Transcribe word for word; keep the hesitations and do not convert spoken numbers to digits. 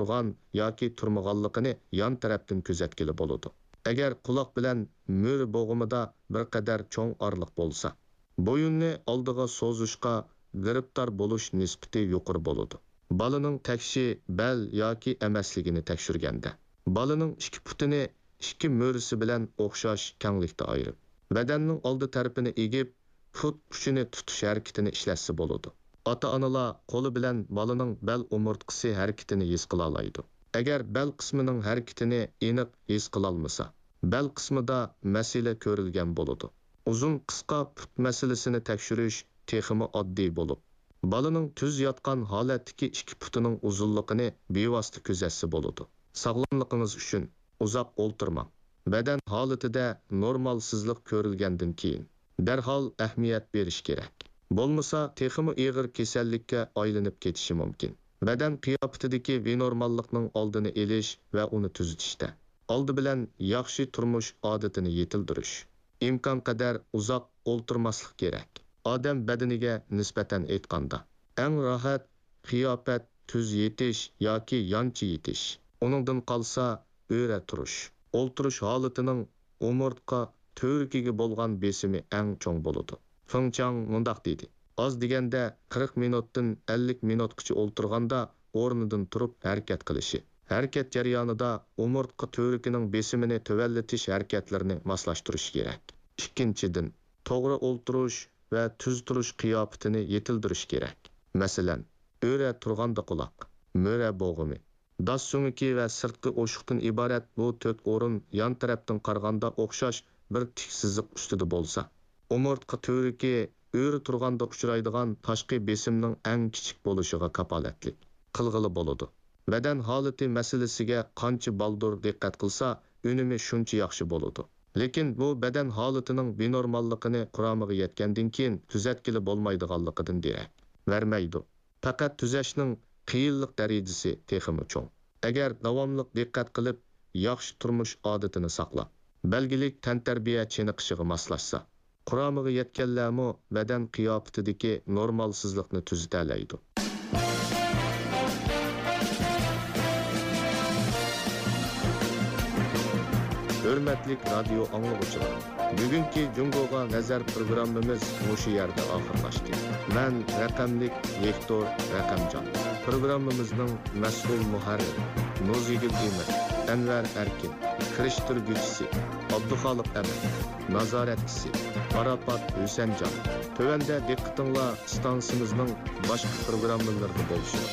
تۇرغان ياكى تۇرمىغانلىقىنى يان تەرەپتىن كۆزەتكىلى بولىدۇ. ئەگەر قۇلاق بىلەن مۈرە بوغۇمىدا بىر قەدەر چوڭ ئارىلىق بولسا، بويۇننى ئالدىغا سوزۇشقا گىرىپتار بولۇش نىسبىتى يۇقىرى بولىدۇ. بالىنىڭ تەكشى بەل ياكى ئەمەسلىكىنى تەكشۈرگەندە، بالىنىڭ ئىككى پۇتىنى ئىككى مۈرىسى بىلەن ئوخشاش كەڭلىكتە ئايرىپ، بەدەننىڭ ئالدى تەرىپىنى ئېگىپ، پۇت ئۇچىنى تۇتۇش ھەرىكىتىنى ئىشلەتسە بولىدۇ. ئاتا-ئانىلار قولى بىلەن بالىنىڭ بەل ئومۇرتقىسى ھەرىكىتىنى ھېس قىلالايدۇ. ئەگەر بەل قىسمىنىڭ ھەرىكىتىنى ئېنىق ھېس قىلالمىسا، بەل قىسمىدا مەسىلە كۆرۈلگەن بولىدۇ. ئۇزۇن قىسقا پۇت مەسىلىسىنى تەكشۈرۈش تېخىمۇ ئاددىي بولۇپ، بالىنىڭ تۈز ياتقان ھالەتتىكى ئىككى پۇتىنىڭ ئۇزۇنلۇقىنى بىۋاسىتە كۆزەتسە بولىدۇ. ساغلاملىقىڭىز ئۈچۈن ئۇزاق ئولتۇرماڭ. بەدەن ھالىتىدە نورمالسىزلىق كۆرۈلگەندىن كېيىن، دەرھال ئەھمىيەت بېرىش كېرەك. بولمىسا، تېخىمۇ ئېغىر كېسەللىككە ئايلىنىپ كېتىشى مۇمكىن. بەدەن قىياپىتىدىكى بىنورماللىقنىڭ ئالدىنى ئېلىش ۋە ئۇنى تۈزىتىشتە، ئالدى بىلەن ياخشى تۇرمۇش ئادىتىنى يېتىلدۈرۈش، ئىمكانقەدەر ئۇزاق ئولتۇرماسلىق كېرەك. ئادەم بەدىنىگە نىسبەتەن ئېيتقاندا، ئەڭ راھەت قىياپەت تۈز يېتىش ياكى يانچە يېتىش. ئۇنىڭدىن قالسا، ئۆرە تۇرۇش. ئولتۇرۇش ھالىتىنىڭ ئومۇرتقا تۈۋرۈكىگە بولغان بېسىمى ئەڭ چوڭ بولىدۇ. فېڭ چاڭ مۇنداق دېدى: ئاز دېگەندە قىرىق مىنۇتتىن ئەللىك مىنۇتقىچە ئولتۇرغاندا ئورنىدىن تۇرۇپ ھەرىكەت قىلىشى، ھەرىكەت جەريانىدا ئومۇرتقا تۈۋرۈكىنىڭ بېسىمىنى تۆۋەنلىتىش ھەرىكەتلىرىنى ماسلاشتۇرۇش كېرەك. ئىككىنچىدىن، توغرا ئولتۇرۇش ۋە تۈز تۇرۇش قىياپىتىنى يېتىلدۈرۈش كېرەك. مەسىلەن، ئۆرە تۇرغاندا قۇلاق، مۈرە بوغۇمى، داس سۆڭىكى ۋە سىرتقى ئوشۇقتىن ئىبارەت بۇ تۆت ئورۇن يان تەرەپتىن قارىغاندا ئوخشاش بىر تىك سىزىق ئۈستىدە بولسا، ئومۇرتقا تۈۋرۈكى ئۆرە تۇرغاندا ئۇچرايدىغان تاشقى بېسىمنىڭ ئەڭ كىچىك بولۇشىغا كاپالەتلىك قىلغىلى بولىدۇ. بەدەن ھالىتى مەسىلىسىگە قانچە بالدۇر دىققەت قىلسا، ئۈنۈمى شۇنچە ياخشى بولىدۇ. لېكىن بۇ بەدەن ھالىتىنىڭ بىنورماللىقىنى قۇرامىغا يەتكەندىن كېيىن تۈزەتكىلى بولمايدىغانلىقىدىن دېرەك بەرمەيدۇ. پەقەت تۈزەشنىڭ قىيىنلىق دەرىجىسى تېخىمۇ چوڭ. ئەگەر داۋاملىق دىققەت قىلىپ، ياخشى تۇرمۇش ئادىتىنى ساقلاپ، بەلگىلىك تەنتەربىيە چېنىقىشىغا ماسلاشسا، قۇرامىغا يەتكەنلەرمۇ بەدەن قىياپىتىدىكى نورمالسىزلىقنى تۈزىتەلەيدۇ. ھۆرمەتلىك رادىيو ئاڭلىغۇچىلار! بۈگۈنكى جۇڭگوغا نەزەر پروگراممىمىز مۇشۇ يەردە ئاخىرلاشتى. مەن رەقەملىك ۋىكتور رەقەمجان. پروگراممىمىزنىڭ مەسئۇل مۇھەررىرى نۇزىگۈل ئىمىن، ئەنۋەر ئەركىن، كىرىشتۈرگۈچىسى ئابدۇخالىق ئەمىن، نازارەتچىسى پاراپات ھۈسەنجان. تۆۋەندە دىققىتىڭلار ئىستانسىمىزنىڭ باشقا پروگراممىلىرىدا بولسۇن.